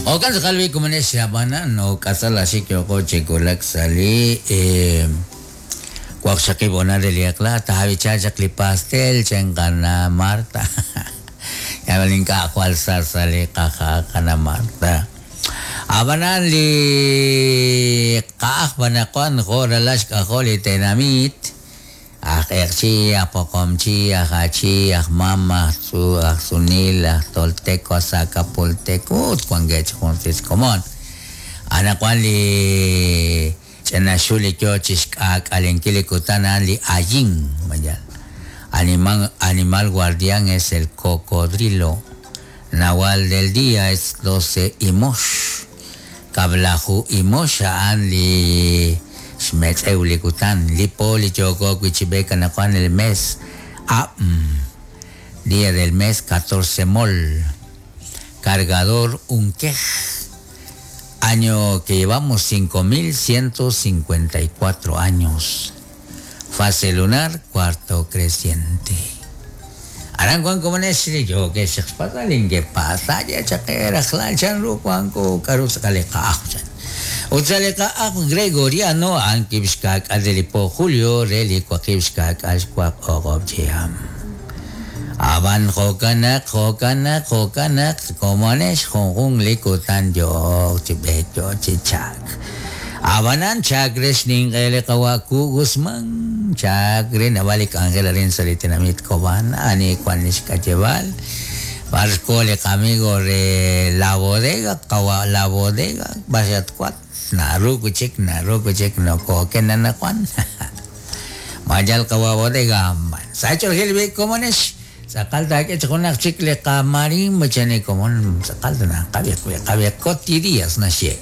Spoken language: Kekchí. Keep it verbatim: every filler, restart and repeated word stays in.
Okan tz'aqal komonex ab'anan no k'asal axik yoko chikulak sali eh waqxaqib' honal de liaqla tajawicha chaq li pastel chankana Marta. Yabalin ka jwal sasali qaja qana Marta. Ab'anan li qa'aj b'anaqwan jo' ralax k'ajol li tenamit aj q'eqchi, aj poqomchi, aj achi, aj mam, aj tzu, aj sunil, aj tolteco, aj zacapulteco, ut wankeb' chi junsis komon. Anaqwan li ch'inaxul li yo chi xk'aak'alenkil li kutan a'an li ayin, mayal. Animal, animal guardián es el cocodrilo. Nahual del día es doce imox. Kab'laju imox a'an li xmetz'ew li kutan. Li po li yoko wi' chi b'eek anaqwan el mes Am. Día del mes catorce mol. Cargador unquej. Año que llevamos cinco mil ciento cincuenta y cuatro años. Fase lunar, cuarto creciente. Aran Juan como nes yo que se pasa que pasa ya chakera chan ru Juan ko karus kale ka Utsale ka Gregoriano an kibskak adelipo Julio reli kwakibskak ashkwak ogob chiam. Aban jokanak jokanak jokanak como nes jonjun likutan yo chibecho chichak. Abanan chakres ning ele kawaku Guzmán chakre nabalik Angela rin salitinamit koban ani kwan kachebal barco le amigo re la bodega kawa la bodega basat kwat naru kuchik naru kuchik no ko nana kwan mayal kawa bodega sacho gilbe como nes sakalta que chonak chicle kamarín machane como sakalta na kabia kabia cotidías na she.